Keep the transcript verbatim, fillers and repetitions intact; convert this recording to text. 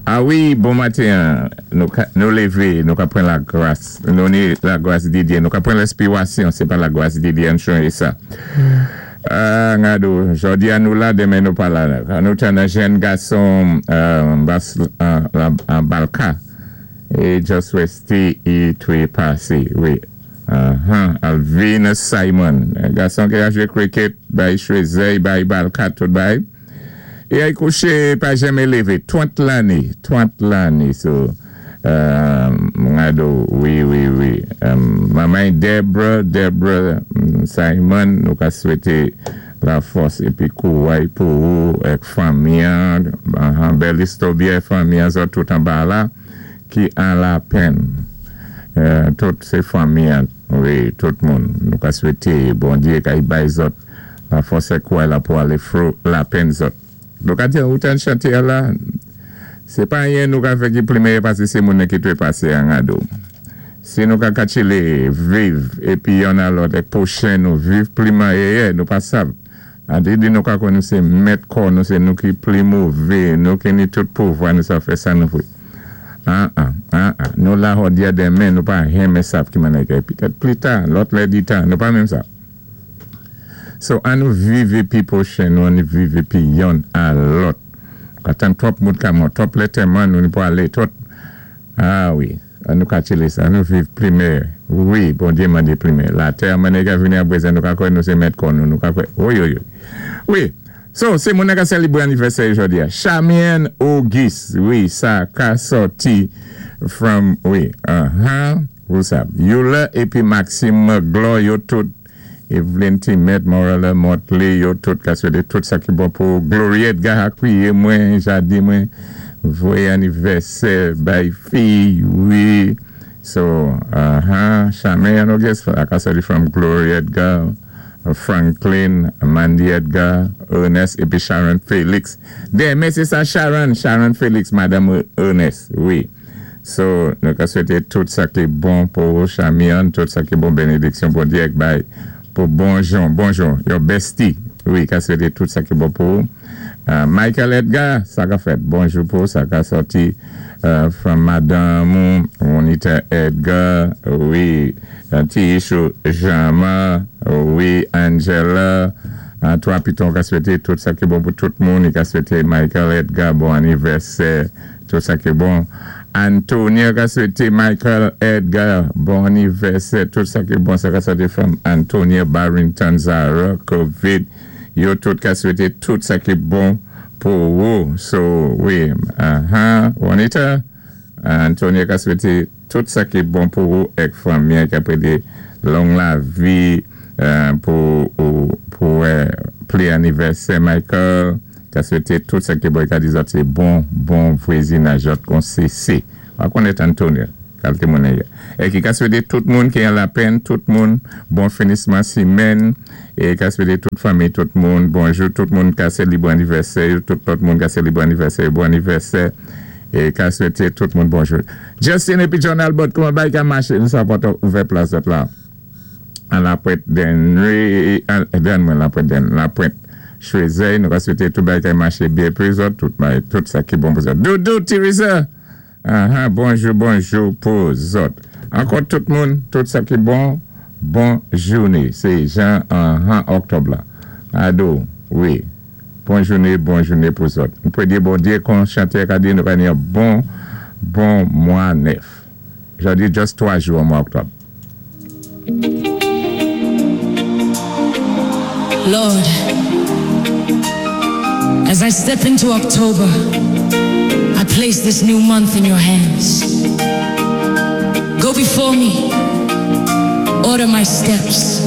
A wi, bon maten, nou, nou lévé, nou ka pran lagras, nou ni lagras di Dye, nou ka pran lenspiwasyon, sé pa lagras di Dye, an chanjé sa. Euh, ngado, jòdi-a nou la, denmen nou pa la. Nou tann jenn gason euh, bas, euh, an Balka, é just wèsté i twé pasé, wi. Uh-huh. Alvin Simon, gason ki a jwé cricket, bay Choiseul, bay Balka, tout bay. É i kouché pa janmen lévé, twant lanné, twant lanné, so, euh, ngado, wi, wi, wi. Um, manman Debra, Debra Simon, nou ka swété lafòs épi kouway pou ou, èk fanmi an, uh, bèl istobye fanmi an, zòt tout anba la, ki an lapenn. Euh, tout sé fanmi an, wi, tout moun. Nou ka swété, Bondyé, ka bay zòt, lafòs é kouway la pou alé through lapenn zòt. Nou ka di, ou tann chanté la, sé pa anyen nou ka fè ki pli meyè pasé sé moun ki twé pasé an ngado. Si nou ka katchilé, viv, épi yonn a lòt, èk pwochen nou, viv pli meyè, nou pa sav. A di di nou ka kwè nou sé mèt kò, nou sé nou ki pli mové, nou ki ni tout pouvwa, nou sa fè sa nou vwé. An, an, an, an. Nou la jòdi-a denmen, nou pa janmen sav ki mannè ki. Pitèt pli ta, lòt lè di tan, nou pa menm sa. So, an nou viv épi pwochen, nou an nou viv épi yonn a lòt. Katan twòp moun ka mò, twòp lantèman nou ni pou alé, twòp. A wi, an nou katchilé sa, an nou viv pli meyè. Wi, Bondyé mandé pli meyè. Latè mannè ka vini apwé nou ka kwè nou sé mèt kò nou, nou ka kwè, wi, wi, wi. Wi, so, sé moun ka sélébré anivèsè jòdi-a. Chamien Auguste, wi, sa ka sòti from, wi, uh-huh, ou sa. Yula épi Maxime Glo, yo tout Evelyn Timet, Morella Motley, yo tout ka swété tout sa ki bon pou Gloria Edgar akwiyé mwen, jadi mwen, voyé anivèsè bay fi, wi. So, uh-huh, Charmaine Auguste, ka sòti from Gloria Edgar, Franklin, Mandy Edgar, Ernest, épi Sharon Felix. Denmen sé sa Sharon, Sharon Felix, Madame Ernest, wi. So, nou ka swété tout sa ki bon pou Charmaine, tout sa ki bon bénédiksyon pou Dyé bay pou bonjou, bonjou, your bestie. Wi, ka swété tout sa ki bon pou. Uh, Michael Edgar, sa ka fèt. Bonjou pou, sa ka sòti uh, from Madame Juanita Edgar, wi, uh, Tishu Jama, wi, Angela, uh, twa piton ka swété tout sa ki bon pou tout moun, ka swété Michael Edgar, bon anivèsè, tout sa ki bon. Antonia ka swété Michael Edgar, bon anivèsè, tout sa ki bon, sa ka sòti from Antonia Barrington, Zara, Covid, yo tout ka swété tout sa ki bon pou ou. So, wi, uh-huh, Juanita, Antonia ka swété tout sa ki bon pou ou, èk fanmi ki apwé long lavi euh, pou ou, pou euh, pli anivèsè Michael, ka swété tout sa ki bon, ka di zòt sé bon, bon vwazinaj kon C C. Wa konnèt Antonia, kalité moun ya. É ki ka swété tout moun ki an lapenn, tout moun, bon finisman simèn, é ka swété tout fanmi, tout moun, bonjou, tout moun ka sélébré anivèsè, tout lòt moun ka sélébré anivèsè, bon anivèsè, é ka swété tout moun bonjou. Justin épi John Albert, kouman bay ka maché, nou sa pòt ouvè plas zòt la. An Lapwent Denry, den mwen Lapwent Den, Lapwent Choiseul, nou ka swété tout bay ka maché byen pou zòt, tout bay, tout sa ki bon pou zòt. Doudou, Teresa! Aha, bonjou, bonjou pou zòt. Ankò tout moun, tout sa ki bon, bon jouné. Sé jan an oktòb la. Ado, wi. Bon jouné, bon jouné pou zòt. Nou pwé di Bondyé kon chantè ka di nou ka ni yon bon, bon mwa nèf. Jòdi just twa jou an mwa oktòb. Lord, as I step into October, I place this new month in your hands. Go before me, order my steps.